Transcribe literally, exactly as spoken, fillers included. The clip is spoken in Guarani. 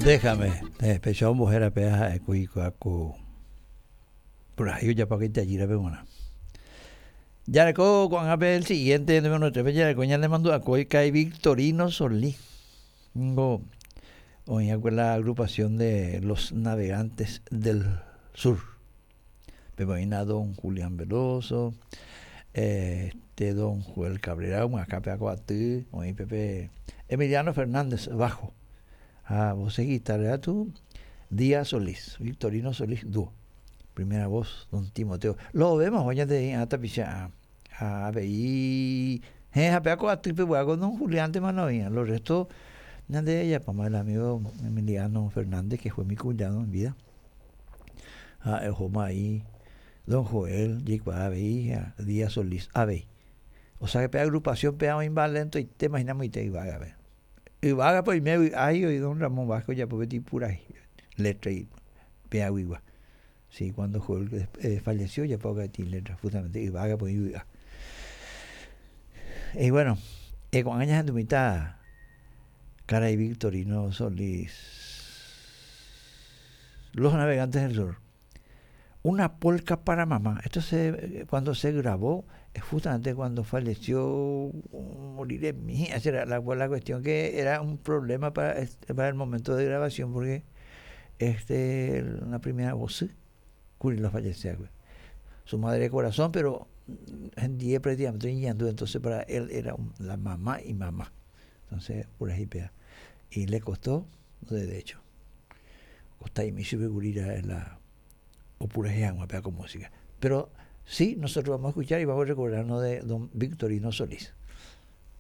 Déjame, eh, péicha ombohéra péva ha'ékuri ku purahéi ojapo itajýrape g̃uarã. Jareko ko'ág̃a pe el siguiente número tres jareko ñanemandu'akói Kai Victorino Solís. Ningo oĩakue la agrupación de los navegantes del sur. Pépe oĩna don Julián Veloso, este don Joel Cabrera omyakã pe aty oĩ pépe Emiliano Fernández bajo ha voces guitarra tu Díaz Solís, Victorino Solís dúo. Primera voz, don Timoteo. Lo vemos hoy ñande tapicha ha avei he ha pe atýpe con don Julián tema no oĩa. Los restos ñande ejapáma el amigo Emiliano Fernández que fue mi cuñado en vida. Ha ohóma ahí don Joel jaikuaa avei ha Díaz Solís avei. O sea que pe agrupación pe oĩmba lentoite imaginamoite yvágape. Yvágape oime vy'ái oĩ don Ramón Vázquez ojapo peteĩ purahéi letra peaguigua. Sí, cuando Joel eh, falleció ya poco letra, justamente yvágape oĩ vy'a. Y bueno, eh, ko'ág̃a ñahendumíta karai Victorino Solís Los Navegantes del Sur. Una polca para mamá. Esto se, cuando se grabó, es justamente cuando falleció, moriré mía. Esa era la, la cuestión que era un problema para, para el momento de grabación, porque este, la primera voz, lo falleció. Su madre de corazón, pero en día prácticamente entonces para él era un, la mamá y mamá. Entonces, pura pea. Y le costó, de hecho. Costa y mi la o pura con música. Pero sí, nosotros vamos a escuchar y vamos a recordarnos de don Victorino Solís.